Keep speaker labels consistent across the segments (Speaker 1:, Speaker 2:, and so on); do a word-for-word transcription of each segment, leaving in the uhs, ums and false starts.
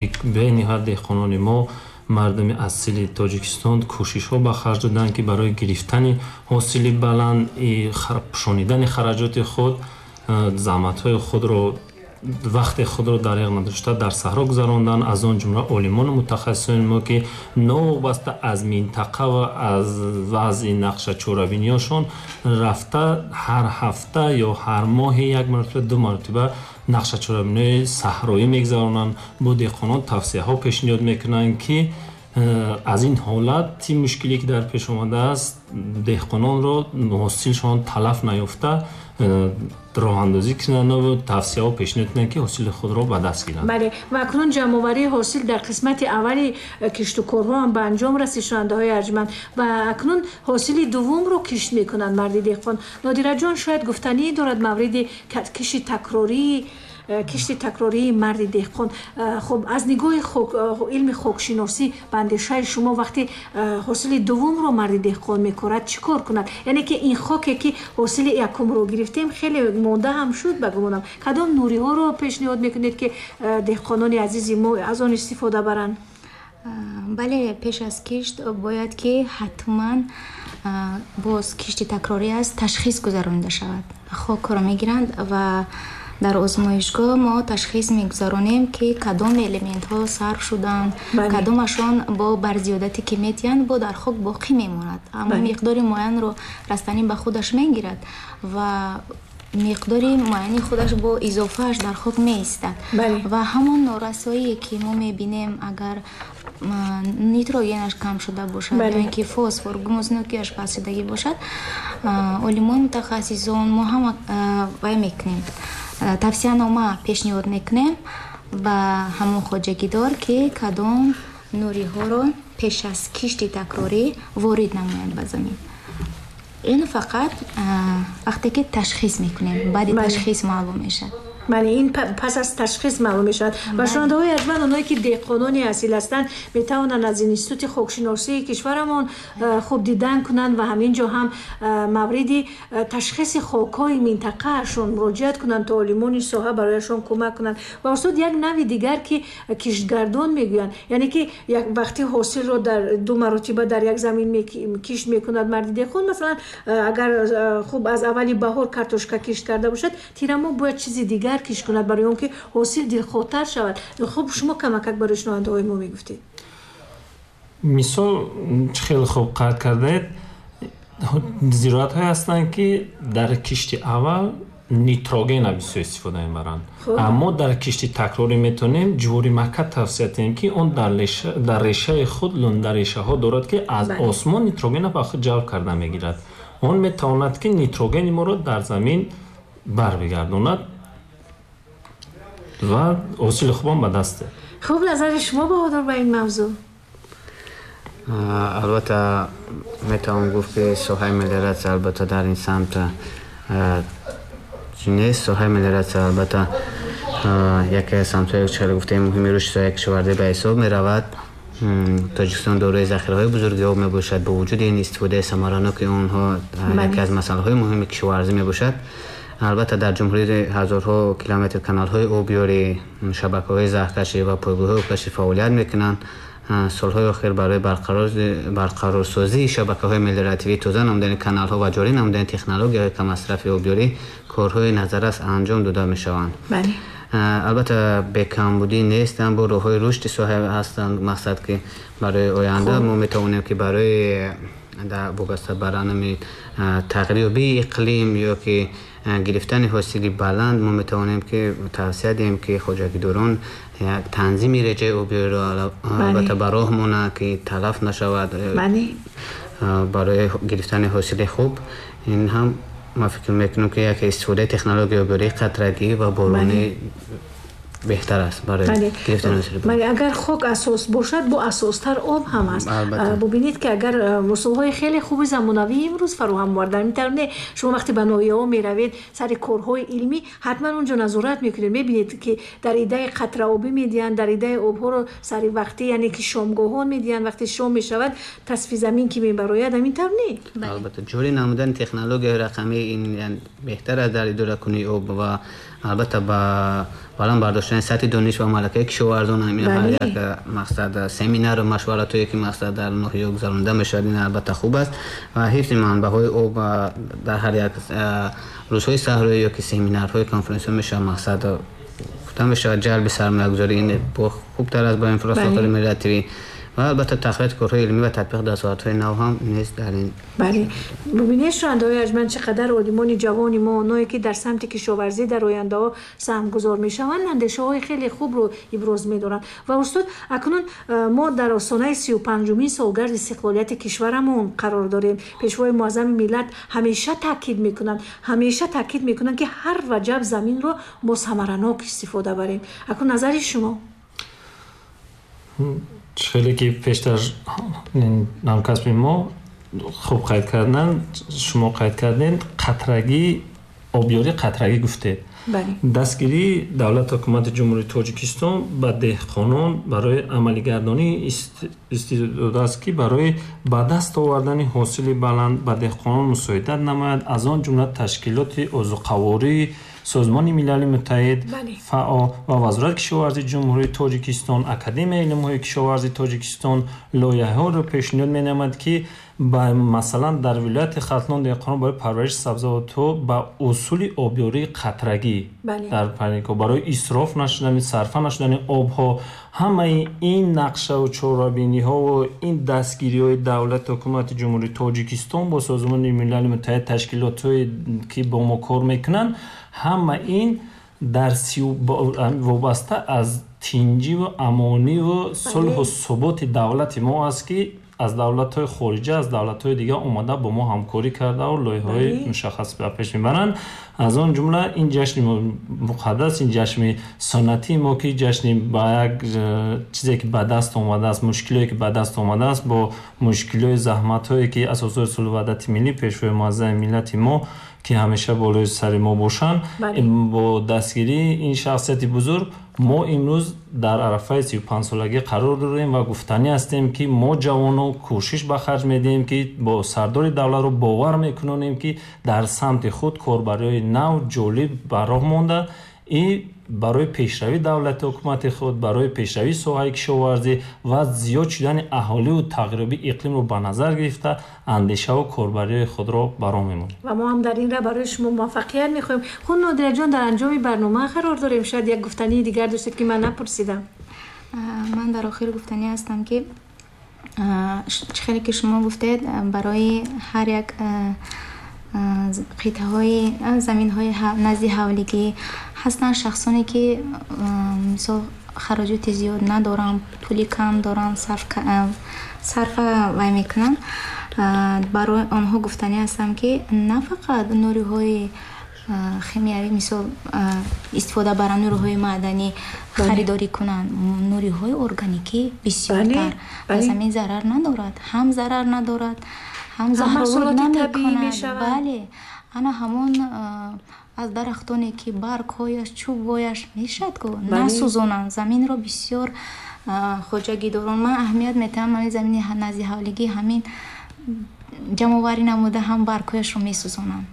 Speaker 1: Бениҳоят деҳқонони мо, мардуми асили Тоҷикистон кӯшишҳо ба харҷ доданд, ки барои гирифтани ҳосили баланд, пӯшонидани хараҷоти худ, заҳматҳои худро, вақти худро дареғ надошта дар саҳро гузаронданд. Аз он ҷумла олимону мутахассисони мо, ки новобаста аз минтақа ва аз вазъи нақша чорабиниҳошон рафта ҳар ҳафта ё ҳар моҳе як маротиба, ду маротиба нақша чорабиниҳои саҳроӣ мегузаронанд, бо деҳқонон тавсияҳо пешниҳод мекунанд, ки аз ин ҳолати мушкиле ки дар пеш омадааст, деҳқононро ҳосилшон талаф наёфта роҳандозӣ кунанд ва тавсияҳо пешниҳод кунанд, ки ҳосили худро ба даст гиранд.
Speaker 2: Бале, ва акнун ҷамъоварии ҳосил дар қисмати аввали киштукорҳо ҳам ба анҷом расид, шунавандаҳои арҷманд, ва акнун ҳосили дуввумро кишт мекунанд марди деҳқон. Нодираҷон, шояд гуфтанӣ дорад мавриди кишти такрории кишти такрории марди деҳқон. Хуб, аз нигоҳи илми хокшиносӣ ба андешаи шумо вақте ҳосили дуввумро марди деҳқон мекорад, чӣ кор кунад? Яъне ки ин хоке ки ҳосили якумро гирифтем, хеле монда ҳам шуд ба гумонам. Кадом нуриҳоро пешниҳод мекунед, ки деҳқонони азизи мо аз он истифода баранд?
Speaker 3: Бале, пеш аз кишт бояд ки ҳатман боз кишти такрорӣ аст, ташхис гузаронида шавад. Хокро мегиранд ва дар озмоишгоҳ мо ташхис мегузаронем, ки кадом элементҳо сарф шуданд, кадомашон бо барзиёдате ки метиҳанд, бо дар хок боқӣ мемонад. Аммо миқдори муайянро растанӣ ба худаш мегирад ва миқдори муайяни худаш бо изофааш дар хок меистад. Ва ҳамон норасоие ки мо мебинем, агар нитрогенаш кам шуда бошад ё ин ки фосфор, гумуснокиаш паст шудагӣ бошад, олимони мутахассисон мо ҳама вай мекунем, тавсиянома пешниҳод мекунем ба ҳамон хоҷагидор, ки кадом нуриҳоро пеш аз кишти такрорӣ ворид намояд ба замин. Ин фақат вақте ки ташхис мекунем, баъди ташхис маълум мешавад.
Speaker 2: Бале, ин пас аз ташхис маълум мешавад. Ва шунавандаҳои арҷманд, онҳое ки деҳқонони асил ҳастанд, метавонанд аз институти хокшиносии кишварамон хуб дидан кунанд ва ҳамин ҷо ҳам мавриди ташхиси хокҳои минтақаашон муроҷиат кунанд, то олимони соҳа барояшон кӯмак кунанд. Ва устод, як нави дигар ки киштгардон мегӯянд, яъне ки як вақти ҳосилро дар ду маротиба дар як замин кишт мекунад марди деҳқон. Масалан, агар хуб аз аввали баҳор картошка кишт карда бошад, тирамоҳ бояд чизи дигар кишт кунад барои он ки ҳосил дилхоҳтар шавад. Хуб, шумо камакак барои шунавандаҳои мо мегуфтед.
Speaker 1: Мисол, чӣ хеле хуб қайд кардаед, зироатҳое ҳастанд, ки дар кишти аввал нитрогенро бисёр истифода мебаранд, аммо дар кишти такрорӣ метавонем ҷувори мака тавсия диҳем, ки он дар решаи худ лундарешаҳо дорад, ки аз осмон нитрогенро ба худ ҷалб карда мегирад. Он метавонад, ки нитрогени моро дар замин барбигардонад ва ҳосили хубам ба даст диҳад.
Speaker 2: Хуб, назари шумо, Баҳодур, ба ин мавзӯъ?
Speaker 4: Албатта, метавон гуфт, ки соҳаи мелиоратсия албатта дар ин самт нест. Соҳаи мелиоратсия албатта яке аз самтҳои, чӣ гуфтем, муҳими рушди соҳаи кишоварзӣ ба ҳисоб меравад. Тоҷикистон дорои захираҳои бузурги об мебошад. Бо вуҷуди ин, истифодаи самараноки онҳо яке аз масъалаҳои муҳими кишоварзӣ мебошад. Албатта, дар ҷумҳурӣ ҳазорҳо километр каналҳои обёрӣ, шабакаҳои заҳкашӣ ва пойгоҳҳои обкашӣ фаъолият мекунанд. Солҳои охир барои барқарорсозии шабакаҳои мелиоративӣ, тоза намудани каналҳо ва ҷорӣ намудани технологияҳои каммасрафи обёрӣ корҳои назаррас анҷом дода мешаванд. Албатта, бекамбудӣ нестанд, бо роҳҳои рушди соҳа ҳастанд. Мақсад ки барои оянда мо метавонем, ки барои вобаста ба ранами тағйирёбии иқлим ё ки гирифтани ҳосили баланд, мо метавонем ки тавсия диҳем, ки хоҷагидорон як танзими реҷаи обёриро албатта ба роҳ монанд, ки талаф нашавад барои гирифтани ҳосили хуб. Ин ҳам ман фикр мекунам, ки яке истифодаи технологияи обёрии қатрагӣ ва боронӣ беҳтар аст барои гирифтани ҳосили баланд.
Speaker 2: Бале, агар хок асос бошад, бо асостар об ҳам аст. Бубинед, ки агар усулҳои хеле хуби замонавии имрӯз фароҳам овардан, метавонед шумо вақте ба ноҳияҳо меравед сари корҳои илмӣ, ҳатман онҷо назорат мекунед, мебинед, ки дар идаи қатраобӣ медиҳанд, дар идаи обҳоро сари вақтӣ, яъне ки шомгоҳон медиҳанд, вақте шом мешавад тасфи замин ки мебарояд, ҳамин тавр не?
Speaker 4: Албатта, ҷорӣ намудани технологияи рақамӣ ин беҳтар аст дар идоракунии об ва Албатта ба баланд бардоштани сатҳи дониш ва малакаи кишоварзон ҳамин ҳар як мақсад семинар ва машваратҳое ки мақсад дар ноҳия гузаронида мешавад, ин албатта хуб аст ва ҳифзи манбаъҳои об дар ҳар як рӯзҳои саҳроӣ ё ки семинарҳои конференсиҳо мешавад мақсад гуфта мешавад ҷалби сармоягузорӣ ин хубтар аст бо инфраструктураи мелиоративӣ ва албатта тақвияти корҳои илмӣ ва татбиқи дастовардҳои нав ҳам низ дар ин.
Speaker 2: Бале, бубинед шунавандаҳои арҷманд, чӣ қадар олимони ҷавони мо, онҳое ки дар самти кишоварзӣ дар ояндаҳо саҳмгузор мешаванд, андешаҳои хеле хубро иброз медоранд. Ва устод, акнун мо дар остонаи сию панҷумин солгарди истиқлолияти кишварамон қарор дорем. Пешвои муаззами миллат ҳамеша таъкид мекунанд, ҳамеша таъкид мекунанд, ки ҳар ваҷаб заминро мо самаранок истифода барем. Акнун назари шумо?
Speaker 1: Хеле ки пештар ҳамкасби мо хуб қайд карданд, шумо қайд кардед, қатрагӣ, обёрӣ қатрагӣ гуфтед. Дастгирии давлат ҳукумати Ҷумҳурии Тоҷикистон ба деҳқонон барои амалигардонии истеъдод аст, ки барои ба даст овардани ҳосили баланд ба деҳқонон мусоидат намояд, аз он ҷумла ташкилоти озуқаворӣ, Созмони Милали Муттаҳид, ФАО ва Вазорати кишоварзии Ҷумҳурии Тоҷикистон, Академияи илмҳои кишоварзии Тоҷикистон лоиҳаҳоро пешниҳод менамояд, ки масалан дар вилояти Хатлон деҳқонон барои парвариши сабзавотҳо ба усули обёрии қатрагӣ дар парникҳо барои исроф нашудани, сарфа нашудани обҳо, ҳамаи ин нақшаву чорабиниҳову ин дастгириҳои давлат ҳукумати Ҷумҳурии Тоҷикистон бо Созмони Милали Муттаҳид, ташкилотҳое ки бо мо кор мекунанд, ҳама ин дар вобаста аз тинҷиву амониву сулҳу суботи давлати мо аст, ки аз давлатҳои хориҷа, аз давлатҳои дигар омада бо мо ҳамкорӣ кардаву лоиҳаҳои мушаххас ба пеш мебаранд. Аз он ҷумла ин ҷашни муқаддас, ин ҷашни суннатии мо, ки ҷашни ба як чизе ки ба даст омадааст, мушкилое ки ба даст омадааст, бо мушкилиҳои заҳматҳое ки асосҳои сулҳу ваҳдати миллӣ, пешвои муаззами миллати мо ки ҳамеша болои сари мо бошанд, бо дастгирии ин шахсияти бузург мо имрӯз дар арафаи сию панҷсолагӣ қарор дорем ва гуфтанӣ ҳастем, ки мо ҷавонон кӯшиш ба харҷ медиҳем, ки бо сардори давлатро бовар мекунонем, ки дар самти худ корбариҳои нав ҷолиб ба роҳ монда и барои пешравии давлати ҳукумати худ, барои пешравии соҳаи кишоварзӣ ва зиёд шудани аҳоливу тағйирёбии иқлимро ба назар гирифта андешаву корбариҳои худро ба роҳ мемонем.
Speaker 2: Ва мо ҳам дар ин ра барои шумо муваффақият мехоҳем. Хуб, Нодираҷон, дар анҷоми барнома қарор дорем. Шояд як гуфтании дигар доштед, ки ман напурсидам.
Speaker 3: Ман дар охир гуфтанӣ ҳастам, ки чӣ хеле ки шумо гуфтед, барои ҳар як қитъаҳои заминҳои назди ҳавлигӣ ҳастанд шахсоне, ки мисол хароҷоти зиёд надоранд, пули кам доранд, сарфа вай мекунанд. Барои онҳо гуфтанӣ ҳастам, ки на фақат нуриҳои химиявӣ, мисол истифода баранд, нуриҳои маъданӣ харидорӣ кунанд, нуриҳои органикӣ бисёртар ба замин зарар надорад, ҳам зарар надорад, ҳам заҳролуд намекунад. Бале, ана ҳамон аз дарахтоне ки баргҳояш, чӯбҳояш мешавад, ку насӯзонанд заминро. Бисёр хоҷагидорон ман аҳамият метаҳам, ҳамин замини назди ҳавлигӣ ҳамин ҷамъоварӣ намуда ҳам баргҳояшро месӯзонанд,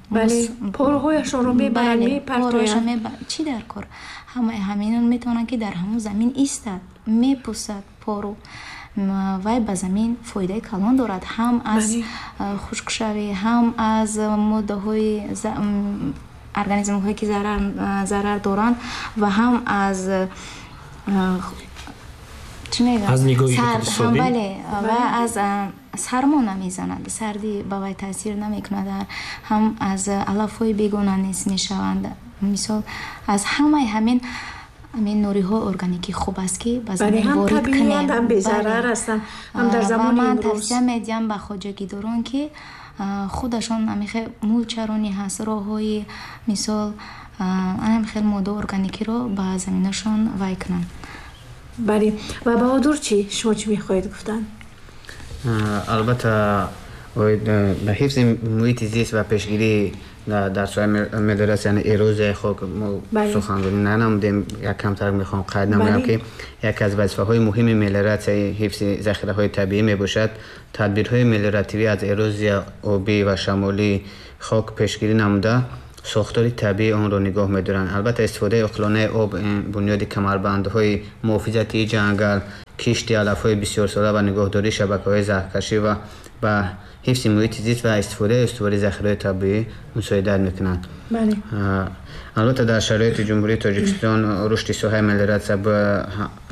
Speaker 2: порҳояшонро мебаранд, мепартоянд.
Speaker 3: Чӣ дар кор? Ҳамаи ҳаминон метавонанд, ки дар ҳамон замин истад, мепӯсад пору, вай ба замин фоидаи калон дорад, ҳам аз хушкшавӣ, ҳам аз моддаҳои организмҳое ки зарар доранд ва ҳам аз чӣ мегӯям,
Speaker 1: аз нигоҳи иқтисодӣ,
Speaker 3: бале, ва аз сармо намезанад, сардӣ ба вай таъсир намекунад, ҳам аз алафҳои бегона низ мешаванд. Мисол аз ҳамаи ҳамин ҳамин нуриҳои органикӣ хуб аст, ки ба замин ворид кунем,
Speaker 2: ҳам безарар ҳастанд, ҳам дар замони
Speaker 3: имрӯз. Ман
Speaker 2: имрӯз
Speaker 3: тавсия медиҳам ба хоҷагидорон, ки худашон ҳамин мулчаронӣ ҳаст, роҳҳои мисол ҳамин хел моддаи органикиро ба заминашон вай кунанд.
Speaker 2: Бале, ва Баҳодур чӣ? Шумо чӣ мехоҳед гуфтан?
Speaker 4: Албатта ба ҳифзи муҳити зист ва пешгирӣ дар соҳаи мелиоратсия, яъне эрозияи хок мо суханронӣ нанамудем. Як камтар мехоҳам қайд намоям, ки яке аз вазифаҳои муҳими мелиоратсияи ҳифзи захираҳои табиӣ мебошад. Тадбирҳои мелиоративӣ аз эрозия обӣ ва шамолии хок пешгирӣ намуда, сохтори табиии онро нигоҳ медоранд. Албатта, истифодаи оқилонаи об, бунёди камарбандҳои муҳофизатии ҷангал, кишти алафҳои бисёрсола ва нигоҳдории шабакаҳои заҳркашӣ ва ба ҳифзи муҳити зист ва истифодаи устувори захираҳои табиӣ мусоидат мекунанд. Албатта, дар шароити Ҷумҳурии Тоҷикистон рушди соҳаи мелиоратсия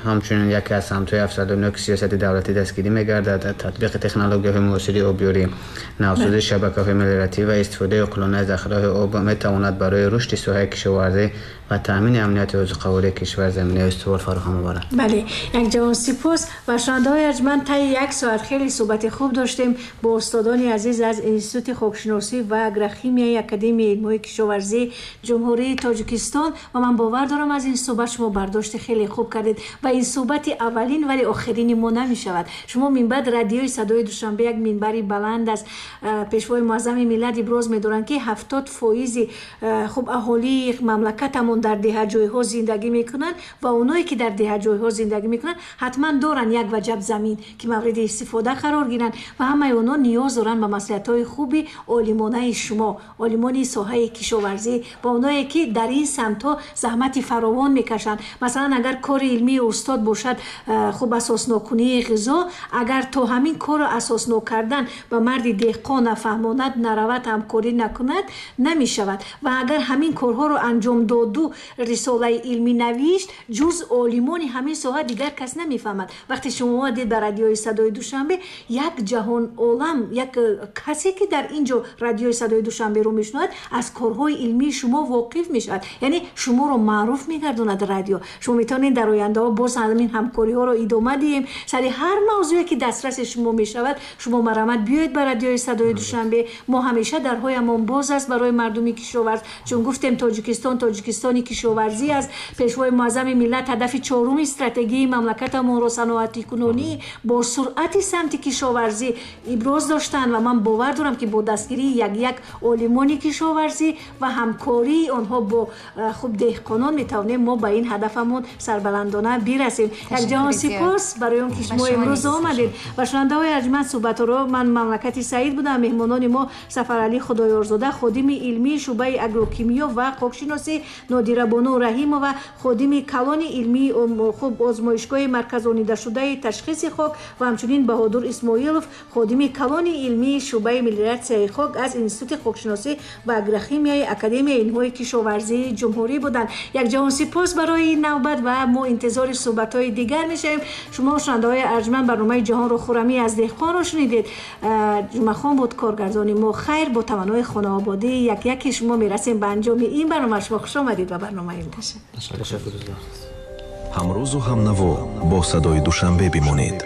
Speaker 4: ҳамчунин яке аз самтҳои афзалноки сиёсати давлатӣ дастгирӣ мегардад. Татбиқи технологияҳои муосири обёрӣ, навсозии шабакаҳои мелиоративӣ ва истифодаи оқилонаи захираҳои об метавонад барои рушди соҳаи кишоварзӣ ва таъмини амнияти озуқавории кишвар заминаи устувор фароҳам оварад.
Speaker 2: Бале, якҷаҳон сипос ва шунавандаҳои арҷманд, таи як соат хеле суҳбати хуб доштем бо устодони азиз аз Институти хокшиносӣ ва агрохимияи Академияи илмҳои кишоварзии Ҷумҳурии Тоҷикистон ва ман бовар дорам аз ин суҳбат шумо бардошти хеле хуб кардед ва ин суҳбати аввалин вале охирини мо намешавад. Шумо минбаъд радиои садои Душанбе як минбари баланд аст. Пешвои муаззами миллат иброз медоранд, ки ҳафтод фоизи хуб аҳолии мамлакатамон дар деҳаҷойҳо зиндагӣ мекунанд ва оное ки дар деҳаҷойҳо зиндагӣ мекунанд ҳатман доранд як ваҷаб замин ки мавриди истифода қарор гиранд ва ҳамаи онҳо ниёз доранд ба маслиҳатҳои хуби олимонаи шумо, олимони соҳаи кишоварзӣ ва оное ки дар ин самтҳо заҳмати фаровон мекашанд. Масалан, агар кори илмии устод бошад хуб асосноккунии ғизо, агар то ҳамин корро асоснок кардан ба марди деҳқон нафаҳмонад, наравад, ҳамкорӣ накунад, намешавад. Ва агар ҳамин корҳоро анҷом доду рисолаи илмӣ навишт, ҷуз олимони ҳамин соҳа дигар кас намефаҳмад. Вақте шумо омадед ба радиои садои Душанбе, як ҷаҳон олам, як касе ки дар ин ҷо радиои садои Душанберо мешунавад, аз корҳои илмии шумо воқиф мешавад. Яъне шуморо маъруф мегардонад радио. Шумо метавонед дар ояндаҳо боз ҳамин ҳамкориҳоро идома диҳем. Сари ҳар мавзӯе ки дастраси шумо мешавад, шумо марамат биёед ба радиои садои Душанбе. Мо ҳамеша дарҳоямон боз аст барои мардуми кишоварз, чун гуфтем Тоҷикистон Тоҷикистони кишоварзӣ аст. Пешвои муаззами миллат ҳадафи чоруми стратегияи мамлакатамонро саноатикунонӣ бо суръати самти кишоварзӣ иброз доштанд ва ман бовар дорам, ки бо дастгирии як-як олимони кишоварзӣ ва ҳамкории онҳо бо хуб деҳқонон метавонем мо ба ин ҳадафамон сарбаландона бирасем. Якҷаҳон сипос барои он ки шумо имрӯз омадед ва шунавандаҳои арҷманд, суҳбатҳоро ман Мамлакати Саид будам. Меҳмонони мо Сафаралӣ Худоёрзода, ходими илмии шӯъбаи агрокимиё ва хокшиносӣ, Нодирабону Раҳимова, ходими калони илмии хуб озмоишгоҳи марказонидашудаи ташхиси хок ва ҳамчунин Баҳодур Исмоилов, ходими калони илмии шӯъбаи мелиоратсияи хок аз Институти хокшиносӣ ва агрохимияи Академияи илмҳои кишоварзии ҷумҳурӣ буданд. Якҷаҳон сипос барои ин навбат ва мо интизори суҳбатҳои дигар мешавем. Шумо шунавандаҳои арҷманд, барномаи ҷаҳонро хӯрамӣ аз деҳқонро шунидед. Ҷумъахон буд коргардони мо. Хайр, бо таманнои хонаободӣ як яки шумо мерасем ба анҷоми ин барнома. Шумо хуш омадед ба барномаи мо.
Speaker 5: Ҳамрӯзу ҳамнаво бо садои Душанбе бимонед.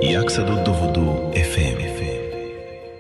Speaker 5: яксаду дуву ду эф эм.